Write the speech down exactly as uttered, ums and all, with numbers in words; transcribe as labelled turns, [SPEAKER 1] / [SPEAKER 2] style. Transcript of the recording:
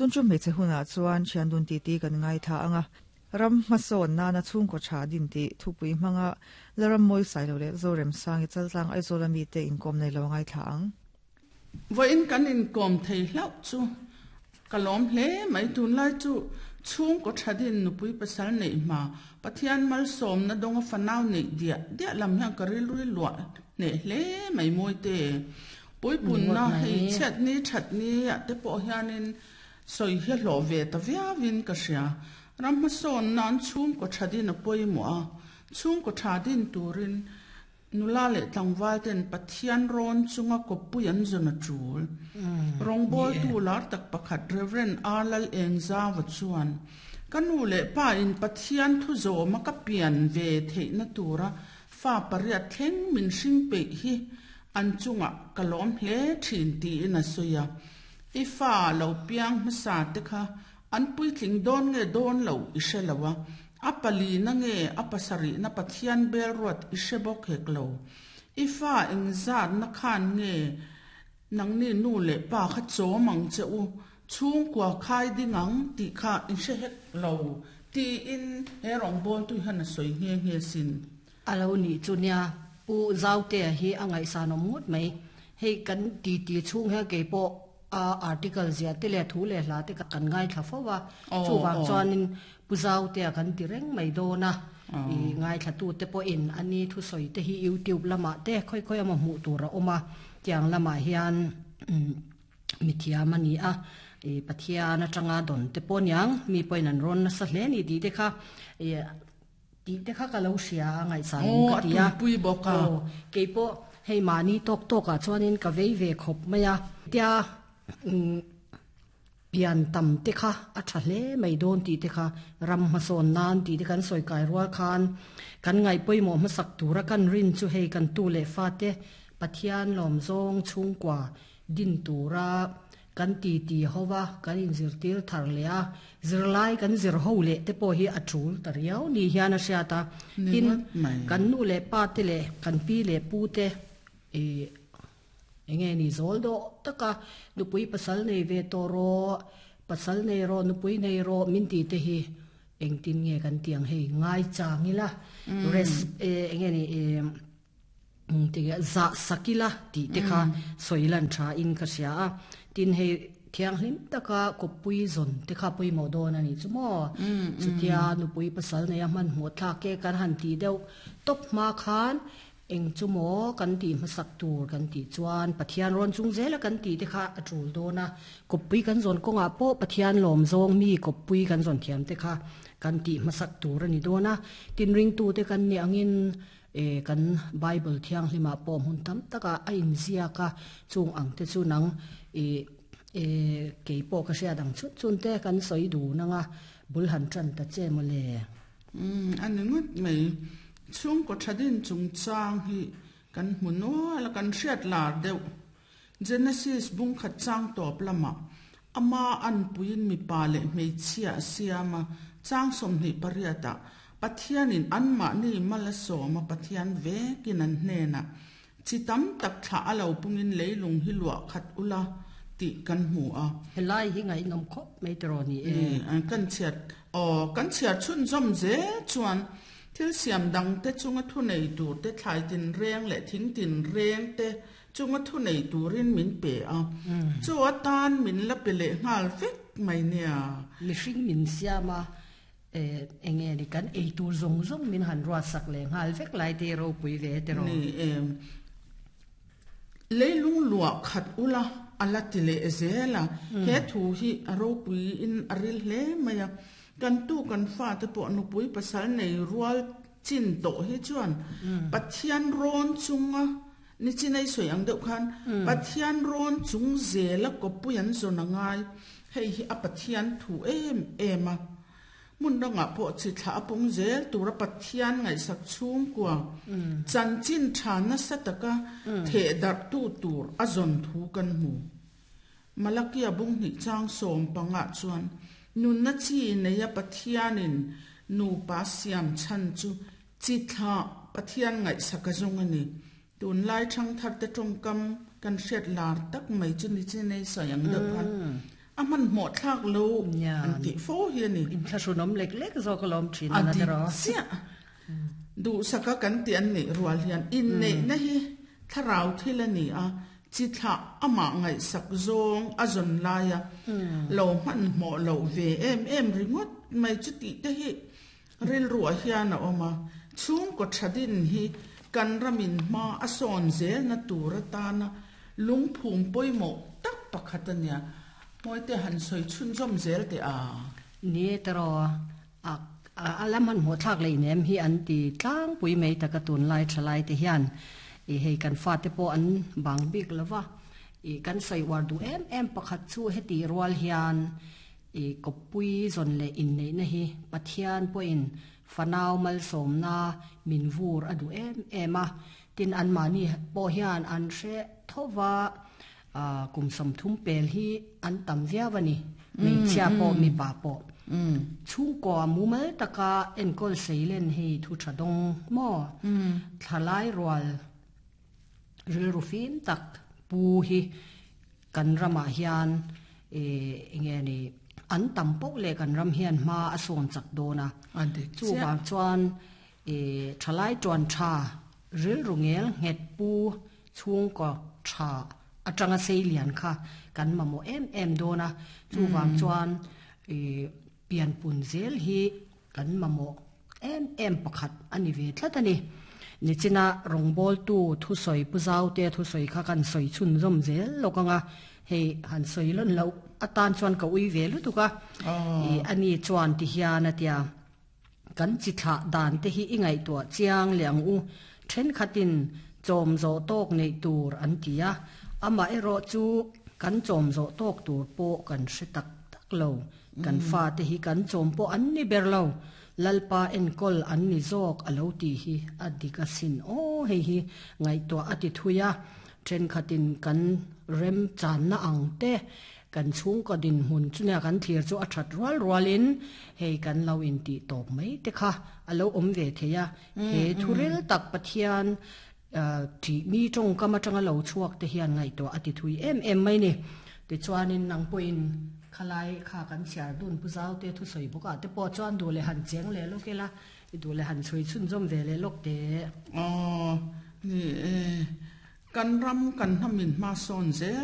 [SPEAKER 1] Tun chu hmeichhe hunah chuan thiandun titi kan ngaithla anga ram hmasawn nana chhungkaw tha din tih thupui hmanga la ram mawi sailo leh Zoremsangi chaltlang Aizawl ami te inkawm nei lo ngaithla ang.
[SPEAKER 2] Vawiin kan inkawm thei hlauh chu ka lawm hle mai tunlai chu chhungkaw tha din nupui pasal neih hma Pathian malsawmna dawnga fanau neih diah diah lam hian ka rilru luah hneh hle mai mawi te. Puipunna hei chhiat ni that ni ah te pawh hianin sawi hi a hlawh ve ta viauin ka hria. Ram hmasawn nan chhungkaw tha din a pawimawh a, chhungkaw tha din turin nula leh tlangval ten Pathian rawn chunga kawppui an zawn a tul. Rawngbawltu lar tak pakhat Rev. R. Lal Engzauva chuan, Ka nu leh pa in Pathian thu zawma ka pian ve theihna tura fa pariat thleng min hring peih hi an chungah ka lawm hle thin tiin a sawi a. I fa lo piang hmasa te kha an puitling dawn nge dawn lo i hre lo a, a palina nge a pasarihna Pathian bel ruat i hre bawk hek lo. I fa engzatna khan nge nangni nu leh pa kha chawm ang che u, chhungkua khai ding ang tih kha i hre hek lo tiin he rawngbawltu hian a sawi nghe nghe sin.
[SPEAKER 3] A lo nih chu nia, Pu Zautea hi a ngaihsanawm ngawt mai. Hei kan titi chhung hian kei pawh a article zia te leh thu leh hla te kan ngaithla fo a, chuvang chuanin Pu Zautea kan ti reng mai dawn a, i ngaithlatute pawhin a ni thusawi te hi YouTube lamah te khawi khawi emaw hmuh tur a awm a, tiang lamah hian mithiam a ni a, i Pathian atanga dawn te pawh aniang mi pawhin an rawn nasa hle a ni tih te kha i Tih te kha ka lo hria a ngaihsan awm ka ti a.
[SPEAKER 2] Aw, a tuipui bawk a.
[SPEAKER 3] Aw, kei pawh hei mahni tawk tawkah chuanin ka vei ve khawp mai a. Tia pian tam te kha a tha hle mai dawn tih te kha ram hmasawn nan tih te kan sawi kai rual khan kan ngaih pawimawh hmasak tura kan rin chu hei kan tu leh fate Pathian lawmzawng chhungkua din tura Kan ti ti ho va, kan inzirtir thar leh a, zirlai kan zir ho leh te pawh hi a tul ta riau ni hian a hriat a. Tin, kan nu leh pa te leh kan pi leh pu te ih eng nge ni zawl dawh taka nupui pasal nei ve tawh rawh, pasal nei rawh, nupui nei rawh min ti te hi engtin nge kan ti ang hei ngaichang ila res eng nge ni ih Tinge zah sak ila tih te kha sawi lan tha in ka hria a, tin hei thianghlim taka kawppui zawn te kha pawimawh dawn a nih chu maw? Chutia nupui pasal neia hmanhmawh thlak e kan han tih deuh tawp hma khan eng chu maw kan tih hmasak tur kan tih chuan Pathian rawn chung zela kan tih te kha a tul dawn a, kawppui kan zawn kawngah pawh Pathian lawm zawng mi kawppui kan zawn thiam te kha kan tih hmasak tur a ni dawn a, tin ringtute kan nih angin E, kan Bible thianghlimah pawh hmun tam takah a inziak a, chung ang te chu nang i e, kei pawh ka hriat ang chhun chhun te kan sawi dun ang a, bul han tan ta che maw le?
[SPEAKER 2] Umm, a ni ngawt mai. Chhungkaw tha din chungchang hi kan hmu nual a, kan hriat lar deuh. Genesis bungkhat chang tawp lamah ama anpuiin mipa leh hmeichhia a siam a, chang sawmhnih pariatah Pathianin anmahni mal a sawm a, Pathian vekin an hnenah, Chi tam tak thlah a lo pungin leilung hi luah khat ula tih kan hmu a.
[SPEAKER 3] Helai hi ngaihnawm khawp mai tiraw ni e.
[SPEAKER 2] Kan chhiat, aw, kan chhiar chhunzawm zel chuan thil siam dangte chunga thu nei turte, thlai tinreng leh thing tinreng te chunga thu nei turin min pe a, chu atan min la pe leh nghal vek mai nia.
[SPEAKER 3] Mihring min siam a, Eng nge ni kan ei tur zawng zawng min han ruat sak leh nghal vek lai te ropui ve te rawh.
[SPEAKER 2] Ni e, leilung luah khat ula a la ti leh zel a, he thu hi a ropui in a ril hle mai a, kan tu kan fate pawh nupui pasal nei rual chin tawh hi chuan Pathian rawn chunga ni chinei sawi ang deuh khan Pathian rawn chung zela kawppui an zawn a ngai, hei hi a Pathian thu em em a. Hmun dangah pawh chi thlah a pung zel tura Pathian ngaihsak chhungkua chanchin tha nasa taka theh darhtu tur a zawn thu kan hmu. Malakia bunghnih chang sawm pangah chuan nunna chi neia Pathianin nupa siam chhan chu chi thlah Pathian ngaihsak a zawng a ni. Tunlai thangtharte tawngkam kan hriat lar tak mai chu ni chinei sawi ang deuh khan A man mo thak lo an ti fo hi ani.
[SPEAKER 3] In thlarunom lek lek zo ka lom thin ana tero.
[SPEAKER 2] Sia. Du saka kan ti an ni rual hian in nei na hi tharau thil ani a chi tha ama ngai sak zong a zon laia lo man mo lo ve em em ringot mai chu ti te hi ril ruwa hian a oma chung ko thadin hi kan ramin ma a son zel na tur ta na lungphum poimo tak pakhat ania moi te han soi chun zom zel te a
[SPEAKER 3] ni tero a alaman ho thak lei nem hi an ti tlang pui mei taka tun lai thalai te hian e hei kan fa te po an bang bik lova e kan soi war du em em pakhat chu heti rual hian e kopui zon le in nei na hi Pathian po in fanau mal som na min vur adu em ema tin an mani po hian an hre thowa a kum som thum pel hi an tam via wani mei chia po mi pa po chung ko mumal taka enkol seilen hei thu thadong mo thalai rual ril rufim tak pu hi kan rama hian e enge ni an tam pok le kan ram hian ma ason chak dona chu ba chuan e thalai tuan tha ril rungel nget pu chung ko tha atanga seilian kha kan mamo em em dona chu wang chuan e pian pun zel hi kan mamo em em pakhat ani ve thlatani nichina rongbol tu thu soi pu zau te thu soi kha kan soi chun zom zel lokanga hei han soi lon lo atan chuan ka ui ve lu tuka e ani chuan ti hian atia kan chi thla dan te hi ingai to chiang liang u then khatin chom zo tok nei tur an tia ama ero chu kan chom zo tok tur po kan hre tak tak lo kan fa te hi kan chom po an ni ber lo lalpa enkol an ni zok alo ti hi adika sin o hei hi ngai to ati thuya then khatin kan rem chan na ang te kan chung ka din hun chunya kan thir chu a that rual rualin hei kan lo in ti top mai te kha alo om ve theya he thuril tak Pathian ti mi tong kama tanga lo chuak te hian ngai to ati thui em em mai ni ti chuanin nang poin khalai kha kan chiar dun pu zau te thu soi buka te po chuan du le han cheng le lo ke la du le han chui chun zom ve le lok te
[SPEAKER 2] o ni kan ram kan hamin ma son zel